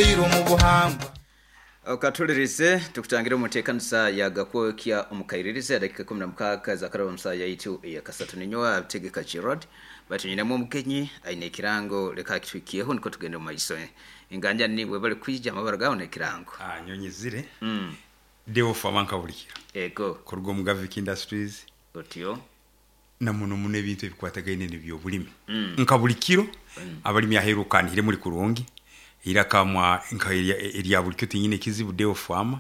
Tuzairwe omu buhangwa. Okatulirize tukutangire omu nteekanisa ya Gakwokya omu kairirizi edakika 16 zakaraba omu saaha yaitu eyakasatu. Ninyowe Abitegeka Gerald, baitu nyinemu omugenyi aine ekirango, leka akitwikyeho nukwo tugende omu maiso. Enganjani nibwe bali kwija amabara gawe n'ekirango. Ah, nyonyezire Deo Fama nkabulikiro. Ego. Kuruga omu Gavik Industries. Otyo. Na muno muno ebintu ebikwatagaine n'ebyobulimi. Nka buli kiro abalimi aheeru okanihire muri kurungi, eiraka mwa nka erya buli kiro tinyine ekizibu Deo Farmer.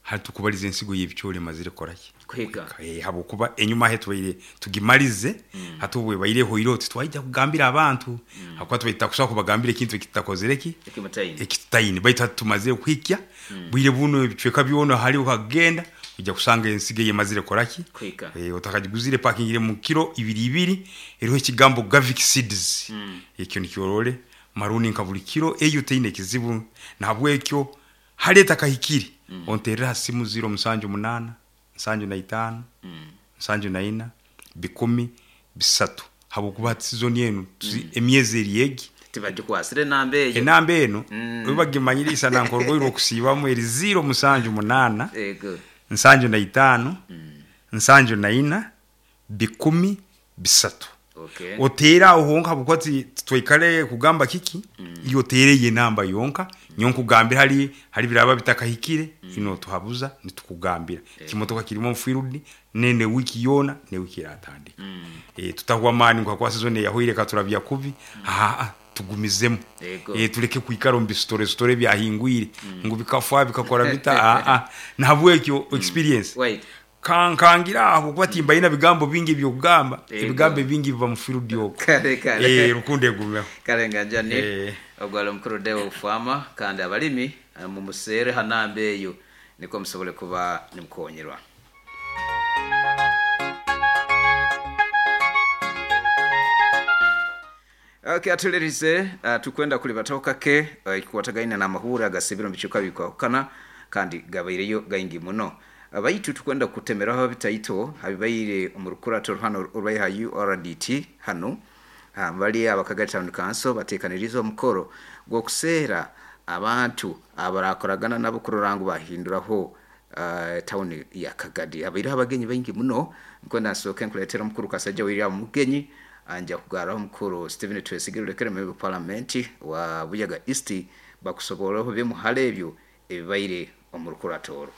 Hati tukubaliza ensigo y'ebicoori emazire kukoraki? Kuhika. Habwokuba enyuma ahe tubaire tugimalize, hati obu ebaire ehoireho titwaija kugambira abantu, habwokuba tubaire tutakusobora kubagambira ekintu eki tutakozire ki? Eki mutaine. Eki tutaine. Baitu hati tumazire kuhikya, bwire bunu ebicweka byona hali okagenda, oija kusanga ensigo eyo emazire kukoraki? Kuhika. Otakagiguzire epakingire mu kiro ibiri ibiri, eriho ekigambo Gavik Seeds. Ekyo nikyo orole maroon nka buli kiro eyo teine ekizibu. Nahabwekyo hali etakahikire, onterere ha simu ziro musanju munaana, nsanju na itaano, nsanju na ina, bikumi bisatu. Habwokuba hati sizoni enu emyezi eri egi. Tibagikwasire enamba eyo. Enamba enu obu bagimanyire isana nk'orugoye rw'okusiibamu eri ziro musanju munaana, nsanju na itaano, nsanju na ina, bikumi bisatu. Oteere aho honka habwokuba titwaikara kugamba kiki, iwe oteere eyo enamba yonka, nyowe nkugambire hali biraaba bitakahikire, notuhabuza nitukugambira. Ekimotoka kirimu omu field nene wiiki yoona n'ewiiki eratandika. Tutahwa amaani ngu habwokuba sizoni eyahoire ekaturabya kubi, aa tugumizemu. Tuleke kwikara omu bisitore sitore ebyahingwire ngu bikafa bikakora bita, aa. Nahabwekyo experience Kankangira aho habwokuba timbaine bigambo bingi eby'okugamba, ebigambo ebingi biba mu field okwo. Kale kale. Rukundo egumeho. Kale Nganjani, ogu ali omukuru Deo Farmer kandi abalimi mumuseere ha namba eyo nikwo musobole kuba nimukonyerwa. Okay, atulirize tukwenda kulibataho kake ekikwatagaine n'amahuura agasibire omu bicweka bikwahukana kandi gabaireyo gaingi muno. Baitu tukwenda kutemeraho bitaito habibaire omu rukurato hano orwaiha URDT hanu bali abakagari Town Council batekanirize omukoro gw'okuseera abantu abarakoragana nabo kurora ngu bahinduraho tawuni ya Kagadi. Habaireho abagenyi baingi muno, nkwenda nsooke nkuleetera omukuru Kasajja William Mugenyi, anja kugarraho omukuru Stephen Twesigire Olekere member of parliament wa Buyaga East bakusoborreho bimu hali ebyo ebibaire omu rukurato oru.